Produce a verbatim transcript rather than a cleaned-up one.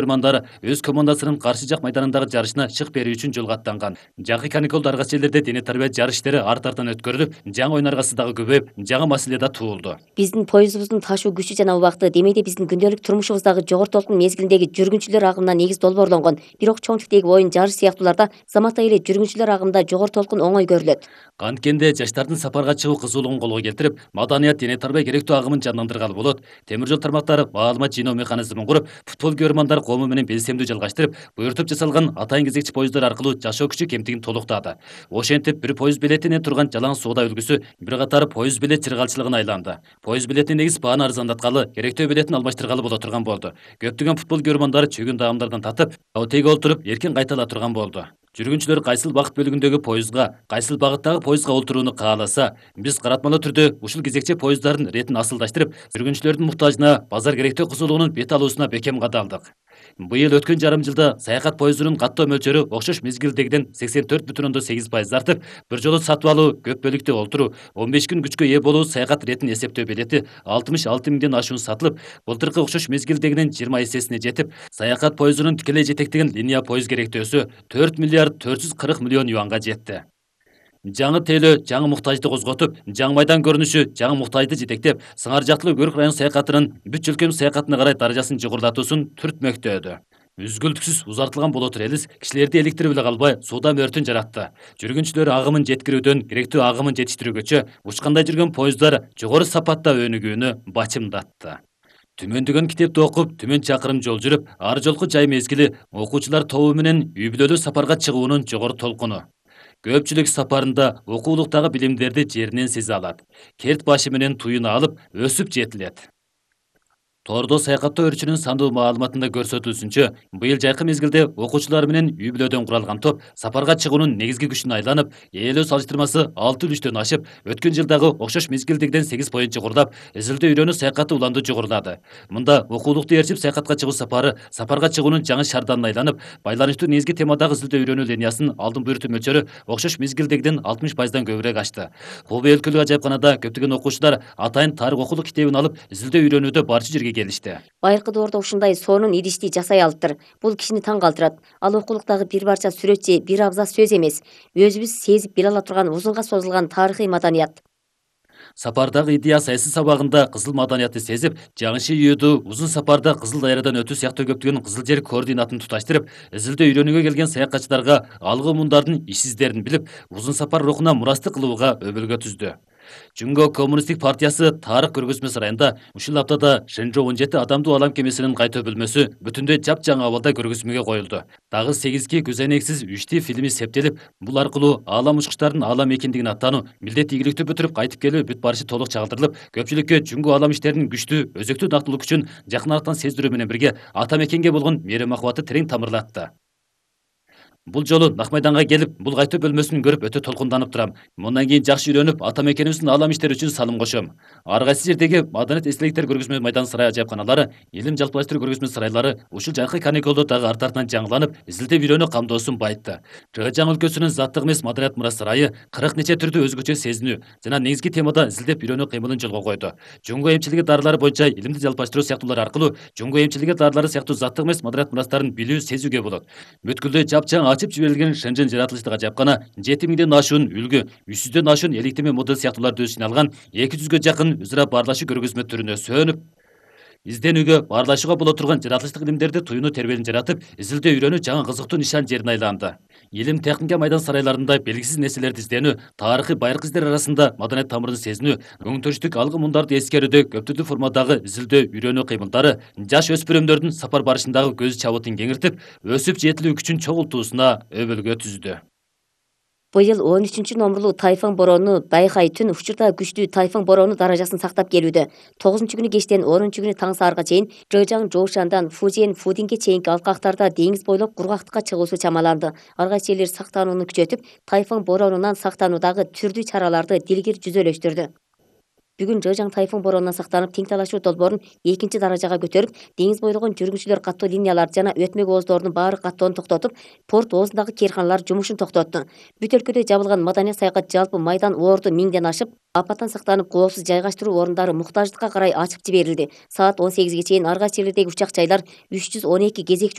Көрмандар өз командасынын каршы жак майданындагы жарышына чык берүү үчүн жолго аттанган. Жакы каникулда ар кайсы жерлерде дене тарбия жарыш иштери арт-артан өткөрүлүп, жаңы оюн аргасы дагы көбөйүп, жаңы маселе да туулду. Биздин поездубуздун ташуу күчү жана убакыты демейде биздин күндөлүк турмушубуздагы жогору толкун мезгилиндеги жүргүнчүлөр агымына негиз долбоорлонгон. Бирок чоң тиктеги оюн жарыш сыяктууларда заматтай эле жүргүнчүлөр агымында жогору толкун оңой көрүлөт. Канткенде жаштардын сапарга чыгуу кызуулугун колго келтирип, маданият дене тарбия керектүү агымын жандандыргалы болот. Темир жол тармактары маалымат жыйноо механизмин куруп, футбол көрмандар коому менен белсемдүү жалгаштырып, буйртуп жасалган атайын кезекчи поезддар аркылуу жашоо күчү кемтигин толуктады. Ошентип бир поезд билетине турган жалаң соода үлгүсү бир катар поезд билет чыргалчылыгына айланды. Поезд билетинин негиз бааны арзандаткалы, керектүү билетин алмаштыргалы боло турган болду. Көптөгөн футбол көрмандары чөгүн даамдардан татып, отейге олтуруп, эркин кайтала турган болду. Жүргүнчүлөр кайсыл багыт бөлүгүндөгү поездга, кайсыл багыттагы поездга олтурууну кааласа, биз каратмалуу түрдө ушул кезекчи поезддардын иретин асылдаштырып, жүргүнчүлөрдүн муктажына, базар керектөө кызуулугунун бет алуусуна бекем кадалдык. Быйыл өткөн жарым жылда саякат поездунун каттоо мөлчөрү окшош мезгилдегиден сексен төрт бүтүн ондон сегиз пайыз артып, бир жолу сатып алуу, көп бөлүктүү олтуруу, он беш күн күчкө ээ болуу саякат иретин эсептөө билети алтымыш алты миңден ашуун сатылып, былтыркы окшош мезгилдегинин жыйырма эсесине жетип, саякат поездунун тикелей жетектеген линия поезд керектөөсү төрт миллиард төрт жүз кырк миллион юанга жетти. Жаңы тейлөө жаңы муктажды козготуп, жаңы майдан көрүнүшү жаңы муктажды жетектеп, Сыңар жактылуу Көрк район саякатынын бүт өлкөмүз саякатына карай даражасын жогорулатуусун түртмөктөөдү. Үзгүлтүксүз узартылган боло тура элес кишилерди эликтирип эле калбай сууда мөртүн жаратты. Жүргүнчүлөр агымын жеткирүүдөн керектүү агымын жетиштирүүгөчө учкандай жүргөн поезддар жогору сапатта өнүгүүнү бачымдатты. Түмөндөгөн китепти окуп, түмөн чакырым жол жүрүп, ар жолку жай мезгили окуучулар тобу менен үй бүлөлүү сапарга чыгуунун жогору толкуну. Көпчүлүк сапарында окуулуктагы билимдерди жеринен сезе алат. Керт башы менен туюна алып, өсүп жетилет. Тордо саякаттоо өрчүнүн сандуу маалыматында көрсөтүлсүнчө, быйыл жайкы мезгилде окуучулар менен үй бүлөдөн куралган топ сапарга чыгуунун негизги күчүнө айланып, ээлөө салыштырмасы алты үлүштөн ашып, өткөн жылдагы окшош мезгилдегиден сегиз пайыз жогорулап, изилдөө үйрөнүү саякаты уланды жогорулады. Мында окуулукту ээрчип саякатка чыгуу сапары сапарга чыгуунун жаңы шарданына айланып, байланыштуу негизги темадагы изилдөө үйрөнүү линиясынын алдын буйртуу мөлчөрү окшош мезгилдегиден алтымыш пайыздан көбүрөөк ашты. Хубей өлкөлүк ажайыпканада көптөгөн окуучулар атайын тарых окулук китебин алып, изилдөө үйрөнүүдө барчу жерге келишти. Байыркы доордо ушундай сонун идишти жасай алыптыр. Бул кишини таң калтырат. Ал окулуктагы бир барча сүрөт же бир абзац сөз эмес. Өзүбүз сезип биле ала турган узунга созулган тарыхый маданият. Сапардагы идея саясий сабагында кызыл маданиятты сезип, жаңыши үйөдү узун сапарда Кызыл дайрадан өтүү сыяктуу көптөгөн кызыл жер координатын туташтырып, изилдөө үйрөнүүгө келген саякатчыларга алгы мундардын иш издерин билип, узун сапар рухуна мурастык кылууга өбөлгө түздү. Жүнгө Коммунисттик партиясы тарых көргөзмө сарайында ушул аптада Шэнжоу он жети адамдуу алам кемесинин кайтуу бөлмөсү бүтүндөй жапжаңы абалда көргөзмөгө коюлду. Дагы сегизги көзөнексиз үчти фильми септелип, бул аркылуу аалам учкучтардын аалам экендигин аттануу, милдет ийгиликтүү бүтүрүп кайтып келүү бүт барышы толук чагылдырылып, көпчүлүккө жүнгө аалам иштеринин күчтүү, өзөктүү нактылык үчүн жакын арктан сездирүү менен бирге ата мекенге болгон мээрим махабаты терең тамырлатты. Бул жолу Нак майданга келип, бул кайтуу бөлмөсүн көрүп өтө толкунданып турам. Мындан кийин жакшы үйрөнүп, ата мекенибиздин аалам иштери үчүн салым кошом. Ар кайсы жердеги маданият эстеликтер көргөзмө майдан сарай ажайыпканалары, илим жалпылаштыруу көргөзмө сарайлары ушул жайкы каникулда дагы арт-артынан жаңыланып, изилдөө үйрөнүү камдоосун байытты. Чыгачаң өлкөсүнүн заттык эмес маданият мурас сарайы кырк нече түрдүү өзгөчө сезинүү жана негизги темада изилдеп үйрөнүү кыймылын жолго койду. Жүнгө эмчилиги дарылары боюнча илимди жалпылаштыруу сыяктуулар аркылуу жүнгө эмчилиги дарылары сыяктуу заттык эмес маданият мурастарын билүү, сезүүгө болот. Бүткүлдөй жапжаң ачып жиберилген Шэнжэн жаратылыштык ажайыпкана жети миңден ашуун үлгү, үч жүздөн ашуун эликтеме модель сыяктууларды өз ичине алган эки жүзгө жакын өзара баарлашуу көргөзмө түрүнө сөнүп, изденүүгө, баарлашууга боло турган жаратылыштык илимдерди туюунуу тербелин жаратып, изилдөө үйрөнүү жаңы кызыктуу нишан жерине айланды. Илим техника майдан сарайларында белгисиз нерселерди изденүү, тарыхый байыркы издер арасында маданият тамырын сезинүү, өңтүрүштүк алгы мундарды эскерүүдө көптүрлүү формадагы изилдөө үйрөнүү кыймылдары жаш өспүрүмдөрдүн сапар барышындагы көз чабытын кеңиртип, өсүп жетилүү күчүн чогултуусуна өбөлгө түздү. Быйыл он үчүнчү номурлуу тайфун бороону Байхай түн учурда күчтүү тайфун бороону даражасын сактап келүүдө. тогузунчу күнү кечтен онунчу күнү таң саарга чейин Жэжаң Жоушандан Фужиен Фудинге чейинки алкактарда деңиз бойлоп кургактыкка чыгуусу чамаланды. Ар кайсы жерлер сактанууну күчөтүп, тайфун бороонунан сактануудагы түрдүү чараларды дилгир жүзөлөштүрдү. бүгүн Жыжаң тайфун боронунан сактанып, тең талашуу долбоорун экинчи даражага көтөрүп, деңиз бойлогон жүргүнчүлөр каттоо линиялары жана өтмө кооздорунун баары каттоону токтотуп, порт оозундагы кээрканалар жумушун токтотту. Бүт өлкөдө жабылган маданият саякат жалпы майдан орду миңден ашып, апаттан сактанып, коопсуз жайгаштыруу орундары муктаждыкка карай ачып жиберилди. Саат он сегизге чейин ар кайсы жерлердеги учак жайлар үч жүз он эки кезекчи